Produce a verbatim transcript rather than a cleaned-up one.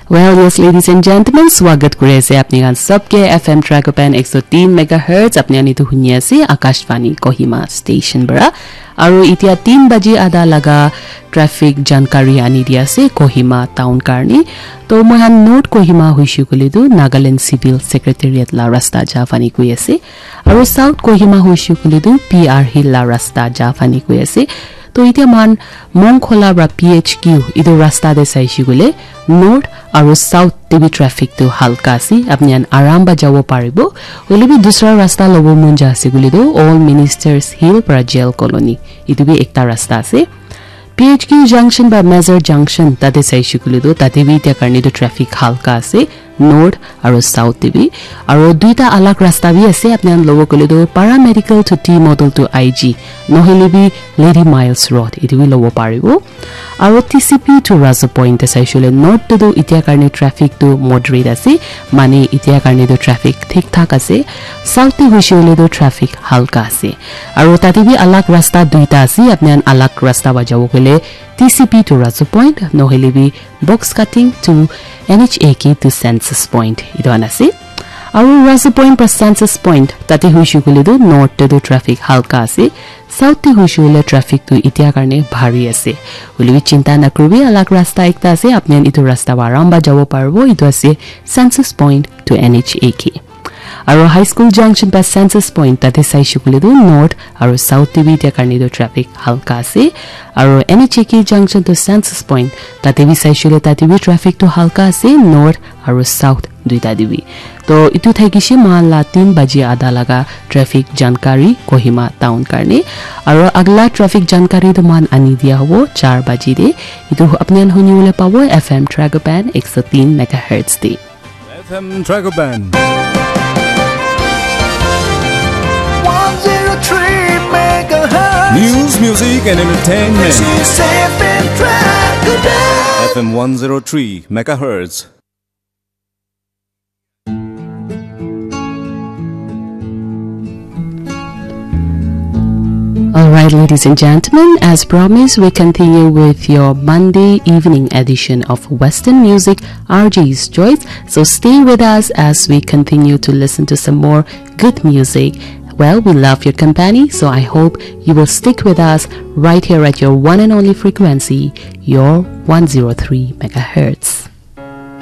Well, yes, ladies and gentlemen, swagat kuri ase apni khan sabke F M Tragopan ek so teen megahertz apni khan etu huni ase Akashvani Kohima station para. Aru itia teen baji ada laga traffic jankari ani di ase Kohima town karni. To moi khan North Kohima huishe koile tu Nagaland Civil Secretariat la rasta ja fani koi ase. Aru South Kohima huishe koile tu P R Hill la rasta ja fani koi ase. To itia moi khan Mongkhola pra P H Q etu rasta te saishe koile North aru South te bi traffic tu halka ase. Apni khan aram pa jabo paribo. Hoile bi dusra rasta lobo mon ja ase koile tu All Ministers Hill pra Jail Colony. Etu bi ekta rasta ase. P H Q junction ba Major junction tate saishe koile tu tate bi itia karne tu traffic halka ase. North aru South te bi. Aru duita alag rasta bi ase. Apni khan lobo koile tu Paramedical to T Model to I G. Nohole bi Lady Miles Road. Etu bi lobo paribo. Aru T C P to Razu Point te saishe koile North te tu itia karne traffic tu moderate ase. Mane itia karne tu traffic thik thak ase. South te huishe koile tu traffic halka ase. Aru tate bi alag rasta duita ase. Apni khan alag rasta pa jabo koile T C P to Razu Point, nohole bi Box Cutting to N H A K to Census Point. Etu khan ase. Aru Razu Point pra Census Point, tate huishe koile tu North te tu traffic halka ase. South te huishe koile traffic tu itia karne bhari ase. Hoile bi chinta nakuribi, alag rasta ekta ase. Apni khan etu rasta pa aram pa jabo paribo. Etu ase Census Point to N H A K. Aru High School Junction pa Census Point tate saishe koile tu North aru South te bi itia karne tu traffic halka ase. Aru N H A K Junction to Census Point tate bi saishe koile tate bi traffic tu halka ase North aru South duita te bi. To etu thakishe moi khan la teen baji ada laga traffic jankari Kohima town karne. Aru agla traffic jankari tu moi khan ani dia hobo char baji te. Etu apni khan huni bole pabo F M Tragopan ek so teen megahertz te. F M Tragopan. one zero three megahertz. News, music, and entertainment. This is F M Tragopan. F M one zero three megahertz. All right, ladies and gentlemen, as promised, we continue with your Monday evening edition of Western Music, R J's Choice. So stay with us as we continue to listen to some more good music. Well, we love your company, so I hope you will stick with us right here at your one and only frequency, your one zero three megahertz.